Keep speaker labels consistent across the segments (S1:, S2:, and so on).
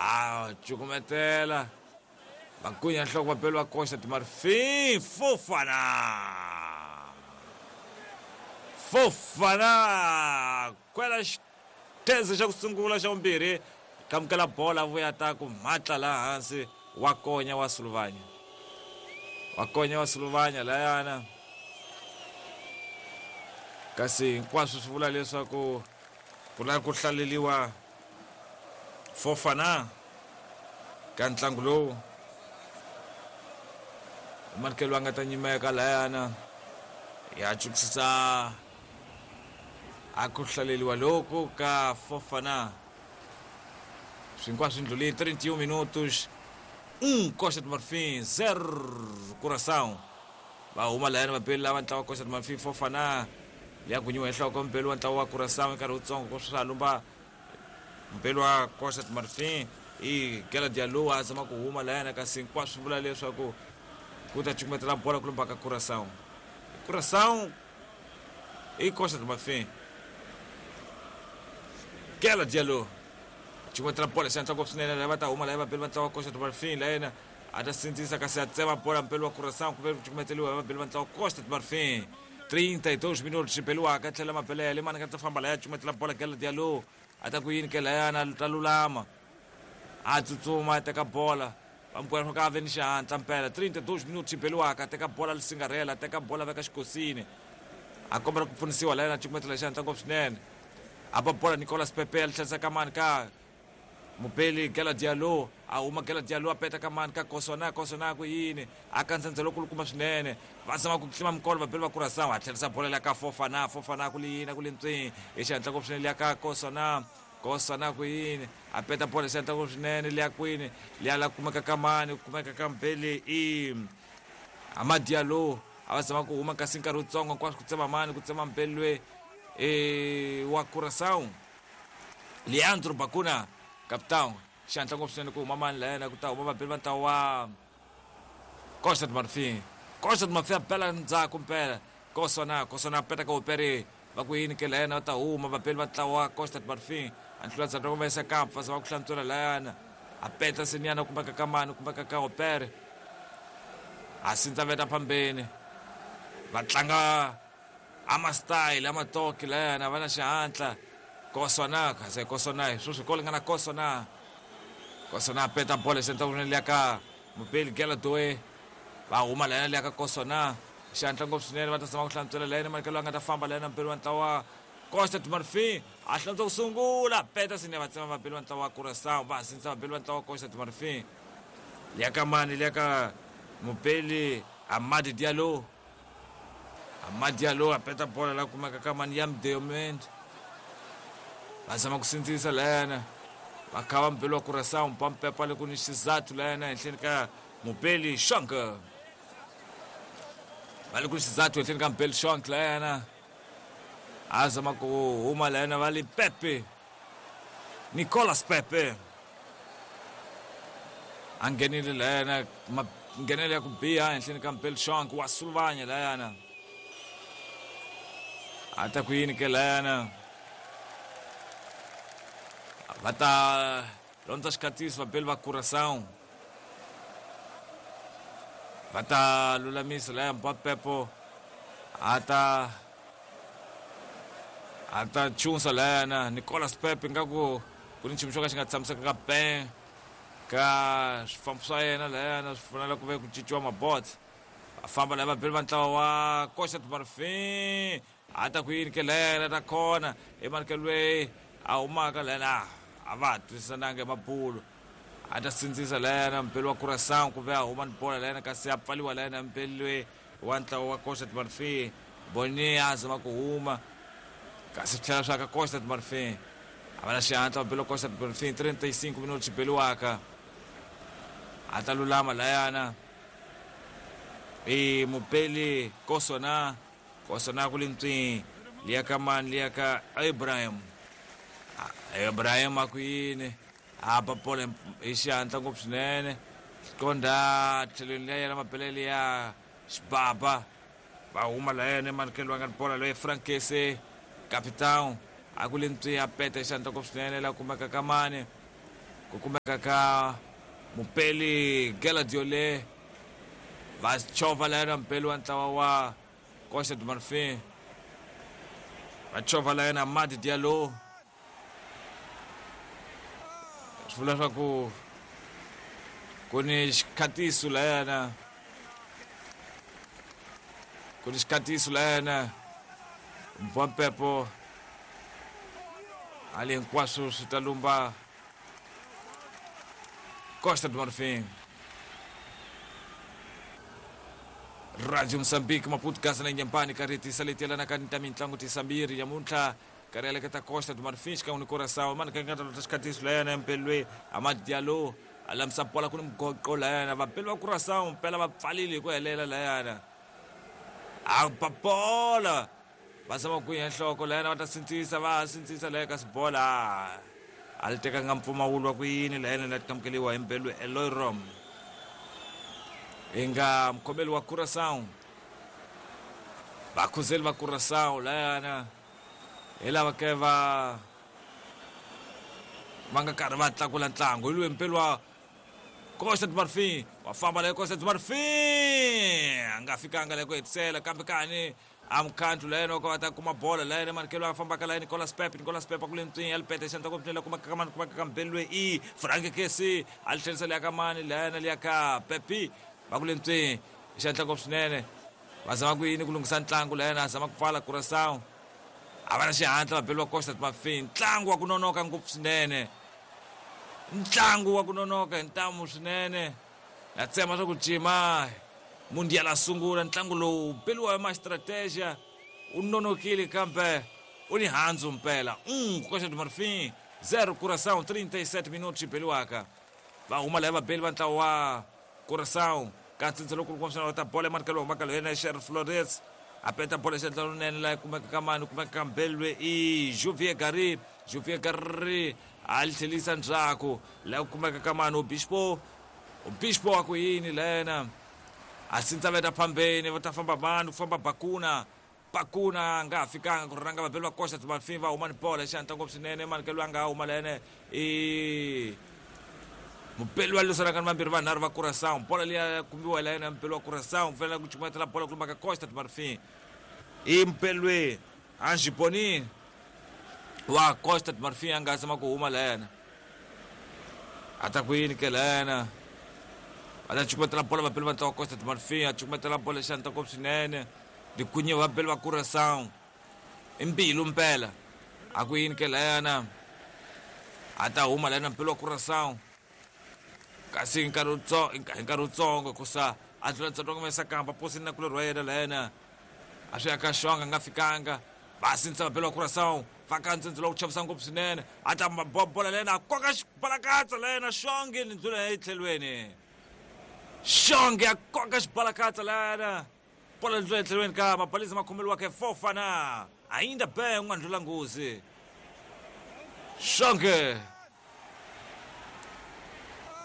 S1: A cukumetela va gunya nhloko vabeli va Costa do Marfim. Fofana, Fofana kwela xitheze xa ku sungula, xa vumbirhi kamukela bola, vuya ta ku mhatla laha hansi. Wa konya wa suluvanya, wa konya wa suluvanya layana, kasi hinkwaswo swi vula leswaku ku lava ku hlaleliwa Fofana ka ntlangu lowu. Manikelo a nga ta nyimeka layana ya chukisisa a ku hlaleliwa loku ka Fofana. Swinkwaswo ndlhuli 31 minutos, 1 Costa do Marfim, 0 Curaçao. Va huma layani vabeli lava ntlawa Costa do Marfim. Fofana liya gunyiwa hi nhloko mbeli wa ntlawa wa Curaçao nkarhi wutsongo ku swa lumba mbeli wa Costa do Marfim i Gela Diallo a zama ku huma layana, kasi hinkwaswo swi vula leswaku ku ta cukumetela bola ku lumba ka Curaçao. Curaçao i Costa do Marfim. Gela Diallo cukumetela bola xihatla ngopfu swinene, lava ta huma laya vabeli va ntlawa wa Costa do Marfim. Layena a ta sindzisa, kasi a tsema bola mpeli wa Curaçao kumbe ku cukumeteliwa hi vabeli va ntlawa Costa do Marfim. 32 minutos xibeliwaka tlhela mabelele mani nga ta famba laya cukumetela bola. Gela Diallo a ta ku yini ke layana, ta lulama, a tsutsuma a teka bola, va ka ve ni xihatla mpela. 32 minutos xibeliwaka, teka bola lisingarhela, teka bola veka xikosini, a kombela ku pfunisiwa layena, cukumetela xihatla ngopfu swinene, a ba bola Nicolas Pepe, a tlherisa ka mani, ka mubeli Gela Diallo. A huma Gela Diallo, a peta ka mani, ka Kosona. Kosona ku yini, a kandzandza lokulukumba swinene, va zama ku tlima mikolo vabeli va Curaçao. A tlherisa bola liya ka Fofana. Fofana ku liyini, ku lintswi hi xihatla ngopfu swinene liya ka Kosona. Kosona ku yini, a peta bola xihatla ngopfu swinene liya kwini, liya la kumeka ka mani, kumeka ka mbeli i Amad Diallo. A va zama ku huma, kasi nkarhi wutsongo hinkwaswo ku tsema mani, ku tsema mbeli loyi e wa Curaçao, Leandro Bacuna, capitão. Xihatla ngopfu swinene ku huma mani layena, ku ta huma vabeli va ntlawa wa Costa do Marfim. Costa do Marfim a bela ndzhaku mpela Kosona. Kosona a peta ka Opere, va ku yini ke layena, va ta huma vabeli va ntlawa wa Costa do Marfim. A nhlula ndzhaku va yisa kampa, va zama ku hlantswela layana, a peta senyana, kumeka ka mani, kumeka ka Opere, a sindza veta phambeni. Va tlanga ama style ama toki layana, va na xihatla. Kosona kasi Kosona hi sweswi ko lingana Kosona. Kosona a peta bola xenta kunene liya ka mubeli Gela Doe. Va huma layana liya ka Kosona xihatla ngopfu swinene, va ta zama ku hlantswela layena manikelo a nga ta famba layena mubeli wa ntlawa Costa do Marfim, a hlantswa ku sungula, peta sine, va tsema vabeli va ntlawa wa Curaçao. Va sindzisa vabeli va ntlawa wa Costa do Marfim. Liya ka mani, liya ka mubeli Amadi Diallo. Amad Diallo a peta bola la kumeka ka mani, Yam Diomand. Va zama ku sindzisa layana, va kha va mubeli wa Curaçao mpampepa le ku ni xizathu layana henhleni ka mubeli Shonk, va le ku ni xizathu henhleni ka mubeli Shonk layana, a zama ku huma layana, va li Pepe, Nicolas Pepe a nghenile layana, nghenele ya ku biha henhleni ka mubeli Shonk wa suluvanya layana. A ta ku yini ke layana, va ta londza xikhatiso vabeli va Curaçao, va ta lulamisa laya Mbapepo a ta chunsa layana Nicolas Pepe, ngaku ku ni nchumu xo ka xi nga tshamisekanga ben ka swifambo swa yena layana, swi fanele ku ve ku cinciwa mabots. Va famba laya vabeli va ntlawa wa Costa do Marfim. A ta ku yini ke layana, ta khona emanikelo loyi a humaka layana, a va ha twisisananga hi mabulo. A ta sindzisa layana mubeli wa Curaçao ku ve a huma ni bola layana, kasi a pfaliwa layana mubeli loyi wa ntlawa wa Costa do Marfim Boni, a zama ku huma, kasi swi tlhela swa ka Costa do Marfim. A va na xihatla vabeli wa Costa do Marfim. 35 minutos xibeliwaka, a ta lulama layana i mubeli Kosona. Kosona ku lintswi liya ka mani, liya ka Ibrahim. Ibrahim a ku yini, a ba bola hi xihatla ngopfu swinene, qondha tlhelweni liya yena mabelele ya xibaba. Va huma layena emanikelo wa nga ni bola loyi Frankese, capitão, a ku lintswi, a peta hi xihatla ngopfu swinene la kumeka ka mani. Ku kumeka ka mupeli Geladiole va chovha layena mupeli wa ntlawa wa Costa do Marfim. Va chovha layena Amad Diallo. Swi vula leswaku ku ni xikhatiso layana, ku ni xikhatiso layana Mbwampepo hali hinkwaswo swi ta lumba Costa do Marfim. Radio Mozambique Maputo Gaza na Inhambane karhi tisa leti yelanaka ni ta mitlangu tisambiri namuntlha karhi yaleketa Costa do Marfim xikan'we ni Curaçao mani ka nga ta lota xikhatiso layana mpelwe Amad Diallo a lamisa bola ku ni mugoqo layana vapeli va Curaçao mpela va pfalile hi ku helela layana a ba bola va zama ku ya nhloko layana va ta sindzisa va sindzisa laya kasi bola a li tekanga mpfumawulo wa ku yini layana la tikamukeliwa hi mbelwe Eloy Rom hi nga mukhomeli wa Curaçao. Vakhuzeli va Curaçao layana hi lava ke va nga karhi va tlakula ntlangu hi loyi mpeli wa Costa do Marfim wa famba leyo Costa do Marfim a nga fikanga leyo ku hetisela kambe kani a mukhandlu layena wa ka va ta kuma bola layena manikelo a fambaka laya Nicolas Pepe. Nicolas Pepe ku le ntswini ya lipete xandla ku pfunela kuma ka mani kuma ka mbeli loyi i Frank Kesi a li tlherisa liya ka mani layena liya ka Pepe va ku le ntswini xandla ngopfu swinene va zama ku yini ku lunghisa ntlangu layena a zama ku pfala Curaçao a va na xihatla va beliwa Costa do Marfim. Ntlangu wa ku nonoka ngopfu swinene, ntlangu wa ku nonoka hi ntamu swinene na tsema swa ku cima mundial a sungula ntlangu lowu beliwa hi ma-strategia u nonokile kambe u ni handzu mpela. Costa do Marfim 0 Curaçao 37 minutos beliwaka va huma laya vabeli va ntlawa wa Curaçao ka ntsindza lowu kulukumba va ta bola emanikelo humaka yena Sher Flores a peta bola xandla lonene laha kumeka ka mani kumeka ka mbelwe i Juvier Gary. Juvier Gary a li tlhelisa ndzhaku laha kumeka ka mani Obispo. Obispo wa ku yini lena a sindza veta phambeni va ta famba mani ku famba Bakuna. Bakuna a nga ha fikanga ku rhanga vabeli va Costa do Marfim va huma ni bola xandla ngopfu swinene manikelo a nga huma lene i mupeli wa lwisanaka ni vambirhi vanharhu va Curaçao. Bola liya kumiwa la yena mupeli wa Curaçao fanele ku cukumetela bola ku lumba ka Costa do Marfim i mupeli loyi Ange Boni wa Costa do Marfim a nga zama ku huma la yena a ta ku yini ke la yena va ta cukumetela bola vapeli va ntlawa Costa do Marfim a cukumetela bola xandla ngopfu swinene likunye vapeli va Curaçao i mbilu mpela a ku yini ke la yena a ta huma la yena mpeli wa Curaçao kasi hi nkarhi wutsongo kusa a tlula ntsongo mesa kamba posini na kulorhi wa yena la yena a swi ya ka xonga nga fikanga va sindzisa vapeli va Curaçao va ka ntsindzi lowu chavisa ngopfu swinene a ta bola la yena a koka xibalakatsa la yena xonge ni ndlula etlhelweni xonge a koka xibalakatsa la yena bola ndlula etlhelweni ka mabalisa ma khomeliwaka Fofana ainda bem n'wandlula nghozi xonge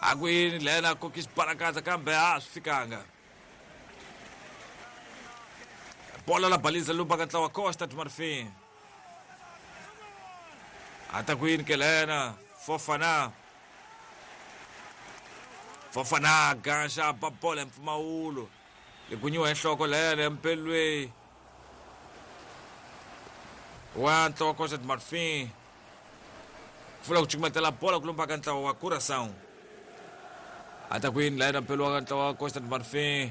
S1: a ku yini lena a koki xibalakatsa kambe a swi fikanga bola la balisa lumba ka ntlawa Costa do Marfim a ta ku yini ke lena Fofana. Fofana gaxa ba bola hi mpfumawulo likunyiwa hi nhloko lena mpelwe wa ntlawa Costa do Marfim pfula ku cukumetela bola ku lumba ka ntlawa wa Curaçao a ta ku yini la yena mpelo wa ntlawa wa Costa do Marfim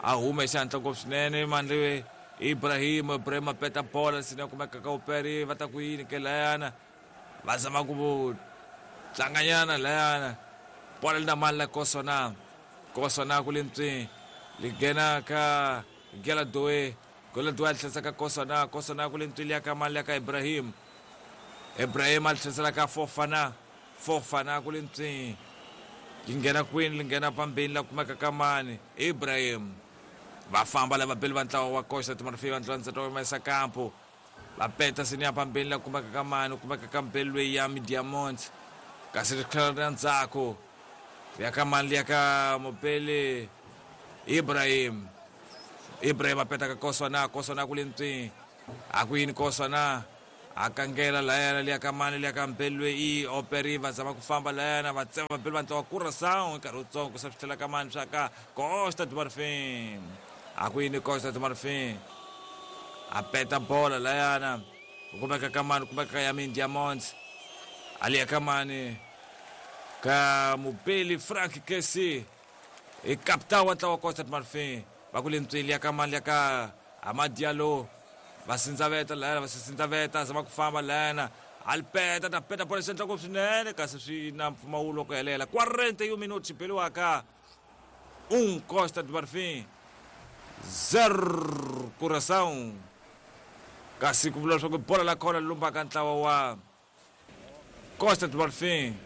S1: a huma hi xihatla ngopfu swinene mandle Ibrahim. Ibrahim a peta bola sina kumeka ka uperi va ta ku yini ke layana va zama ku tlanganyana layana bola li na mali la Kosona. Kosona ku le ntswini li nghena ka Gela Doe. Gela Doe a tlherisa ka Kosona. Kosona ku le ntswini ya ka mali ya ka Ibrahim. Ibrahim a tlherisela ka Fofana. Fofana ku le ntswini li nghena kwini li nghena pambeni la kumeka ka mani Ibrahim va famba lava beli va ntlawa wa Costa do Marfim va ntlawa ntsata wa Mesa Campo va peta sini ya pambeni la kumeka ka mani kumeka ka mbeli loyi ya Diamond kasi ri tlhela ri ya ndzhaku ya ka mani liya ka mupeli Ibrahim. Ibrahim a peta ka Kosona. Kosona ku le ntswini a ku yini Kosona A kangela layana liya ka mani liya ka mpelwe i operi va zama ku famba layana va tsema vapeli va ntlawa Curaçao nkarhi wutsongo ku sa swi tlhela ka mani swa ka Costa do Marfim. A ku yini Costa do Marfim a peta bola layana ku kumeka ka mani kumeka ka Yamin Diamonds a liya ka mani ka mupeli Frank Kesi i kapita wa ntlawa Costa do Marfim va ku le ntsweli ya ka mani ya ka Amad Diallo va sindzaveta layana va sindzaveta zama ku famba layana alipeta ta peta bola xendla ngopfu swinene kasi swi na mpfumawulo ku helela 41 minutos xibeliwaka 1 Costa do Marfim 0 Curaçao kasi ku vula leswaku bola la kona lumbaka ntlawa wa Costa do Marfim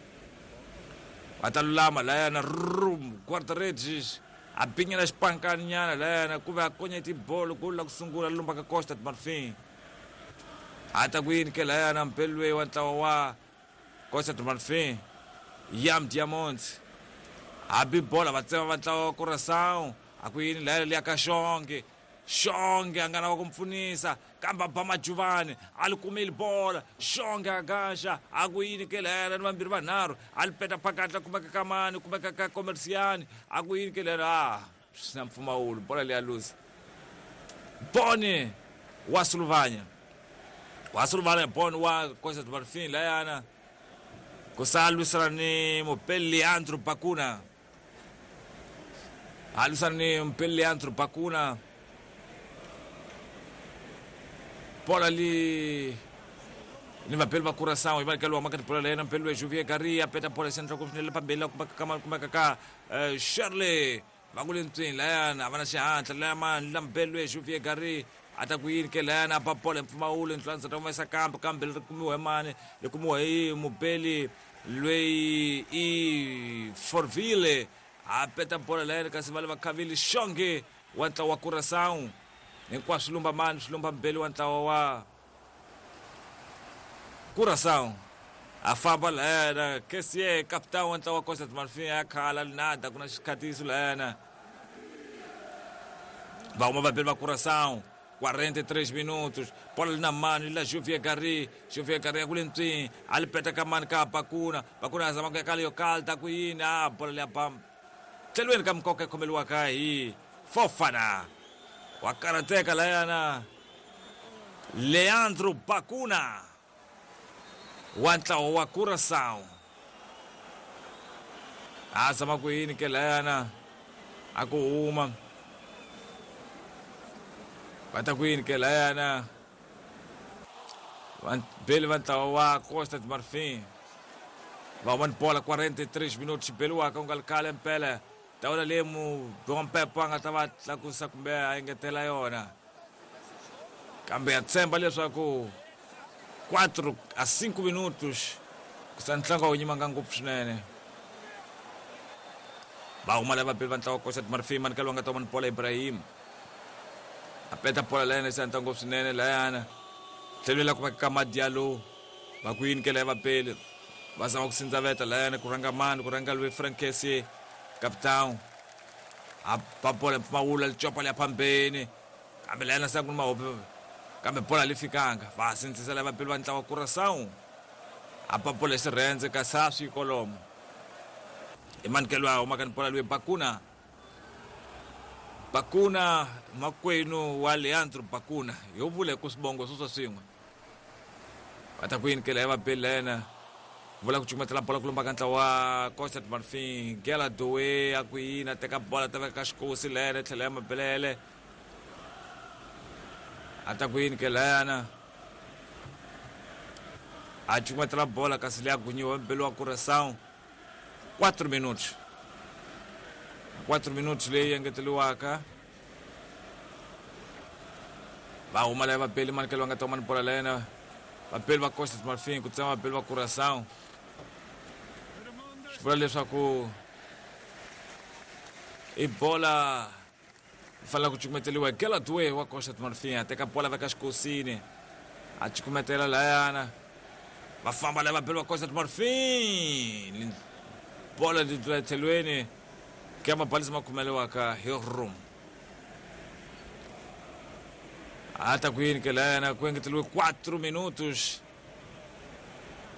S1: va ta lulama layana rum guarda-redes a binyela xipankaninyana layana ku ve a konya tibolo golo la ku sungula lumbaka Costa do Marfim a ta ku yini ke layana mpelwe wa ntlawa wa Costa do Marfim Yam Diamonds a bi bola va tsema va ntlawa wa Curaçao a ku yini layana liya ka Xonge Xonge a nga lava ku pfunisa kambe a ba Majuvani a li kumeli bola Xonge a gaxa a ku yini ke layana ni vambirhi vanharhu a li peta phakatla kumeka ka mani kumeka ka Comerciani a ku yini ke layana a swi na mpfumawulo bola leya luza Boni wa Suluvanya wa Suluvanya Boni wa Costa do Marfim layana ku sa lwisana ni mupeli Leandro Bakuna a lwisana ni mupeli Leandro Bakuna bola li ni vapeli va Curaçao yi va ka maka tibola layena mpeli loyi Juvier Garia peta bola xandla ku swinene phambili la kumeka ka kumeka ka Shirley va ku le ntswini layana a va na xihatla laya mani la mpeli loyi Juvier Garia a ta ku yini ke layana a ba bola hi mpfumawulo ntlwanza ta humesa kambe kambe ri kumiwa hi mani ri kumiwa hi mupeli loyi i Forville a peta bola layana kasi va le va khavile Xonge wa ntlawa wa Curaçao hinkwaswo lumba mani swi lumba mbeli wa ntlawa wa Curaçao a famba layana Kessie capitão wa ntlawa wa Costa do Marfim ya khala linada ku na xikhatiso layana va huma vapeli va Curaçao 43 minutos bola li na mani la Juvier Gari Juvier Gari ya ku le ntswini a li peta ka mani ka Bakuna Bakuna a zama ku ya ka leyo kalta ku yini a bola leya bam tlhelweni ka mikoka yi khomeliwaka hi Fofana wa karateka layana Leandro Bakuna wa ntlawa wa Curaçao a zama ku yini ke layana a ku huma va ta ku yini ke layana beli va ntlawa wa Costa do Marfim va huma ni bola 43 minutos xibeliwaka ku nga li khale mpela tawula leyi Mpepo a nga ta va tlakusa kumbe a engetela yona kambe ya tshemba leswaku 4 a 5 minutos ku sa ntlangu a wu nyimanga ngopfu swinene va huma lava vapeli va ntlawa Costa do Marfim mani ka loyi a nga ta huma ni bola Ibrahim a peta bola layana se ntlangu ngopfu swinene layana tlhelweni la kumeka ka Madialo va ku yini ke laya vapeli va zama ku sindzaveta layana ku rhanga mani ku rhanga loyi Frank Kessie capitão a ba bola mpfumawulo licopa liya phambeni kambe layana se ku ni mahope kambe bola li fikanga va sindzisa lava vapeli va ntlawa Curaçao a ba bola hi xirhendze kasi a swi kolomo i manikelo a humaka ni bola loyi Bakuna Bakuna makwenu wa Leandro Bakuna yo vula hi ku swibongo swo swa swin'we va ta ku yini ke laya vapeli layena vula ku cukumetela bola ku lumba ka ntlawa wa Costa do Marfim Gela Doe a ku yini a teka bola ta veka ka xikosi layena tlhela ya mabelele a ta ku yini ke layana a cukumetela bola kasi leya gunyiwa mbeli wa Curaçao 4 minutos 4 minutos leyi engeteliwaka va huma laya vapeli manikelo va nga ta huma ni bola layena vapeli va Costa do Marfim ku tsema vapeli va Curaçao swi vula leswaku i bola fanele ku cukumeteliwa hi Gela Due wa Costa do Marfim a teka bola veka xikosini a cukumetela layana va famba laya vapeli va Costa do Marfim bola li tlula etlhelweni ke mabalisi ma khomeliwaka hi room A ta ku yini ke layana ku engeteriwe 4 minutos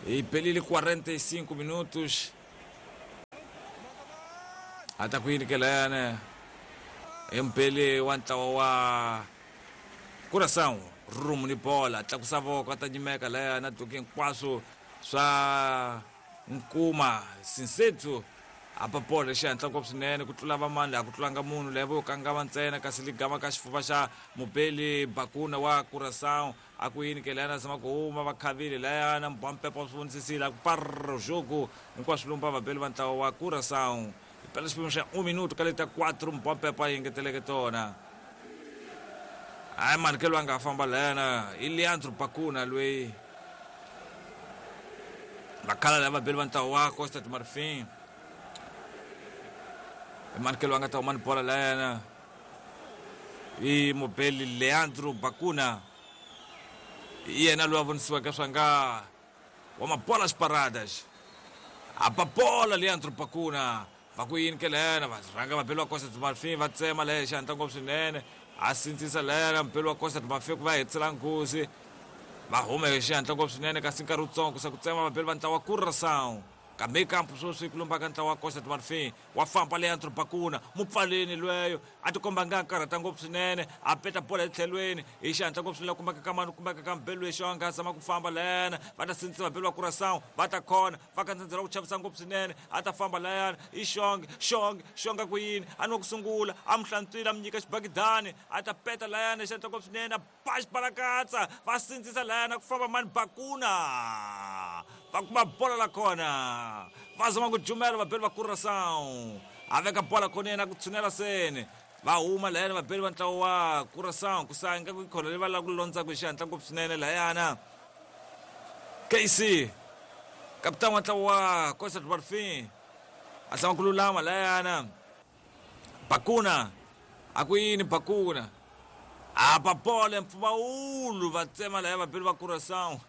S1: hi pelile 45 minutos. A ta ku yini ke layana hi mpeli wa ntlawa wa Curaçao rumu ni bola tlakusa voko a ta nyimeka layana duki hinkwaswo swa nkuma Sinsethu apa bola xihatla ngopfu swinene ku tlula vamani laha ku tlulanga munhu leyi vo kangama ntsena kasi ligama ka xifuva xa mubeli Bakuna wa Curaçao. A ku yini ke layana zama ku huma va khavile layana mbampepa swi vonisisile a ku parro jogo hinkwaswo lumba vabeli va ntlawa wa Curaçao. Hi pela xiphemu xa 1 minuto ka leta 4 mbampepa yi engeteleke tona. Hayi mani ke loyi a nga famba layana i Leandro Bakuna loyi vakhala lava vabeli va ntlawa wa Costa do Marfim. Mani ke loyi a nga ta huma ni bola layana i mubeli Leandro Bakuna, i yena loyi a vonisiweke swa nga wa mabola xiparadas. Apa bola Leandro Bakuna va ku yini ke layana va rhanga vabeli va Costa do Marfim va tsema laya xihatla ngopfu swinene a sindzisa layana mubeli wa Costa do Marfim ku va hetisela nghozi va huma hi xihatla ngopfu swinene kasi nkarhi wutsongo ku se ku tsema vabeli va ntlawa wa Curaçao. Kambe kampu sweswi ku lumba ka ntlawa wa Costa do Marfim wa famba Leandro Bakuna mupfaleni lweyo a tikomba nga karhata ngopfu swinene a peta bola etlhelweni hi xihatla ngopfu swinene kumbeka ka mani kumbeka ka mbelu lexi a nga zama ku famba layana va ta sindzisa vabeli va Curaçao va ta khona va ka ndzhendzela ku chavisa ngopfu swinene a ta famba layana i xonge xonge xonga ku yini a ni wa ku sungula a mu hlantswile a mu nyika xibakidani a ta peta layana hi xihatla ngopfu swinene a ba xibalakatsa va sindzisa layana ku famba mani Bakuna va kuma bola la kona va zama ku jumela vabeli va Curaçao a veka bola khoneni a ku tshunela seni va huma layana vabeli va ntlawa wa Curaçao ku sa ingaku yi khona leyi va lava ku londzaka hi xihatla ngopfu swinene layana. KC kapitani wa ntlawa wa Costa do Marfim a zama ku lulama layana Bakuna a ku yini Bakuna apa bola mpfumawulo va tsema laya vabeli va Curaçao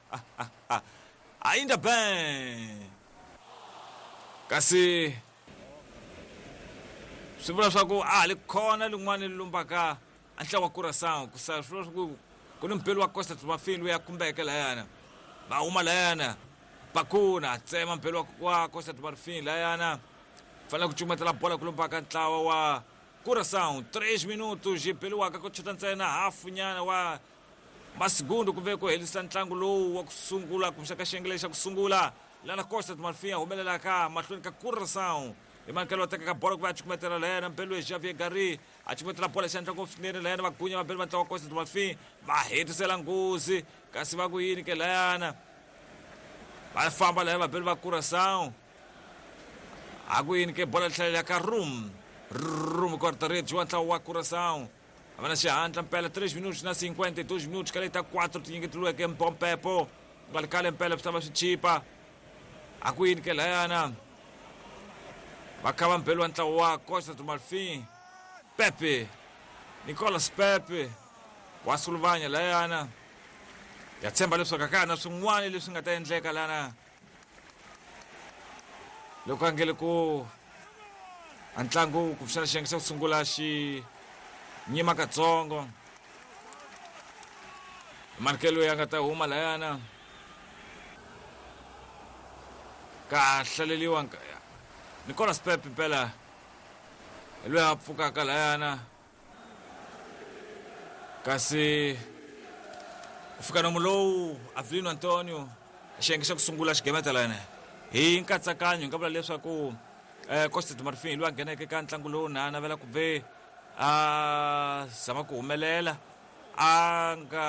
S1: ainda bem kasi swi vula swa ku a ha li khona lin'wana li lumbaka a ntlawa wa Curaçao ku sa swi vula swa ku ku ni mubeli wa Costa do Marfim loyi a khumbeke layana va huma layana Bakuna a tsema mubeli wa Costa do Marfim layana fanele ku cukumetela bola ku lumbaka ntlawa wa Curaçao. 3 minutos yi beliwaka ku chota ntsena hafu nyana wa masigundu ku ve ku herisa ntlangu lowu wa ku sungula kumbexana ka xiyenge lexi xa ku sungula lana Costa do Marfim a humelelaka mahlweni ka Curaçao. Hi mankelo wa tekaka bola ku va a cukumetela layana mbelu ya Javier Gari a cukumetela bola xandla ngopfu swinene layana va gunya vabeli va ntlawa wa Costa do Marfim va hetisela nghozi kasi va ku yini ke layana va famba laya vabeli va Curaçao a ku yini ke bola tlhelela ka Rum Rum guarda-redes wa ntlawa wa Curaçao a va na xihatla mpela 3 minutos na 52 minutos ka leta 4 tinyiketeliweke mpompepo nga ri kale mpela swi ta va swi chipa. A ku yini ke layana va kha va mbeli wa ntlawa wa Costa do Marfim Pepe Nicolas Pepe wa suluvanya layana ya tshemba leswaku a ka ha na swin'wana leswi nga ta endleka lana loko a ngele ku a ntlangu kumbexana xiyenge xa ku sungula xi nyima katsongo markelo ya nga ta huma layana ka hlaleliwa Nicolas Pepe mpela hi loyi a pfukaka layana kasi ku fika nomu lowu Avelino Antonio xiyenge xa ku sungula xigemeta layana hi nkatsakanyo hi nga vula leswaku Costa do Marfim hi loyi a ngheneke ka ntlangu lowu na navela ku ve a zama ku humelela a nga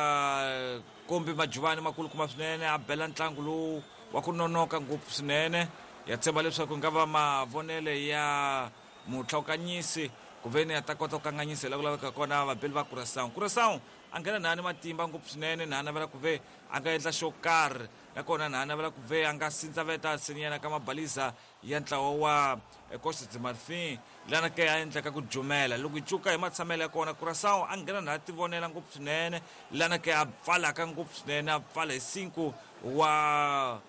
S1: kombi majuvani makulukumba swinene a bela ntlangu lowu wa ku nonoka ngopfu swinene. Ya tshemba leswaku nga va mavonele ya mutlhawukanyisi ku ve ni a ta kota ku kanganyisa hi la ku laveka kona vabeli va Curaçao. Curaçao a nghena na ni matimba ngopfu swinene na navela ku ve a nga endla xo karhi nakona na navela ku ve a nga sindzaveta senyana ka mabaliza ya ntlawa wa Costa do Marfim lana ke a endlaka ku jumela. Loko hi cuka hi matshamelo ya kona, Curaçao a nghena na tivonela ngopfu swinene lana ke a pfalaka ngopfu swinene a pfala hi 5 wa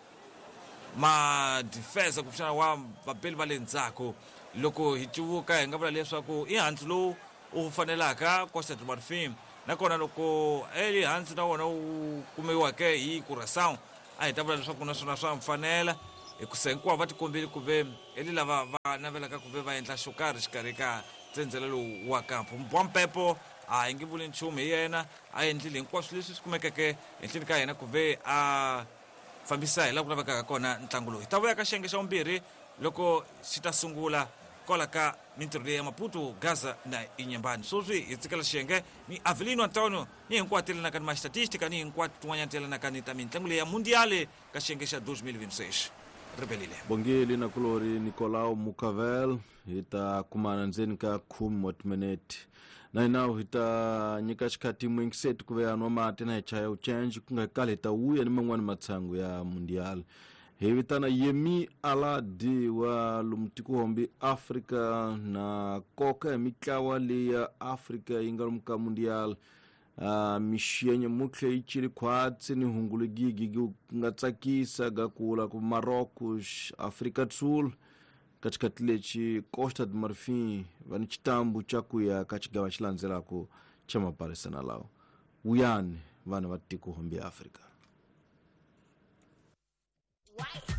S1: madifense kumbexana wa vabeli va le ndzhaku. Loko hi cuvuka hi nga vula leswaku i handzu lowu u fanelaka Costa do Marfim Nakona loko Eli Hans na wona wu kumiweke hi Curaçao, a hi ta vula leswaku naswona swa mfanela, hikusa hinkwavo va tikombile ku ve eli lava va navelaka ku ve va endla xo karhi xikarhi ka tsendzela lowu wa kampo. Mbwampepo a hi nge vuli nchumu hi yena, a endlile hinkwaswo leswi swi kumekeke henhleni ka yena ku ve a fambisa hi laha ku lavekaka kona ntlangu lowu. Hi ta vuya ka xiyenge xa vumbirhi loko xi ta sungula kwala ka mintirho leyi ya Maputo, Gaza na Inhambane. Sweswi hi tsikela xiyenge ni Avelino Antonio ni hinkwato ti yelanaka ni mastatistika ni hinkwato tin'wanyana ti yelanaka ni ta mintlangu leyi ya Mundial ka xiyenge xa 2026. Ribelile.
S2: Bongile na kulori Nicolau Mucavel hi ta kumana ndzeni ka khume wa timinete na hina hi ta nyika xikhathi muyingiseti ku ve a nwa mati na hi chaya uchenji ku nga kali hi ta vuya ni man'wani matshangu ya mundial. Hi vitana Yemi Alade wa lomu tikohombi Afrika na koka hi mitlawa leyi ya Afrika yi nga lomu ka mundial. Mixenye mutlhe yi cili khwatsi ni hungu ligigi ku nga tsakisa ga kula ku Marocos, Afrika do Sul ka xikhathi lexi Costa de Marfin va ni xitambu xa ku ya ka xigava xi landzelaka xa maparisana lawa. Wuyani vanhu va tikohombi Afrika.
S3: White.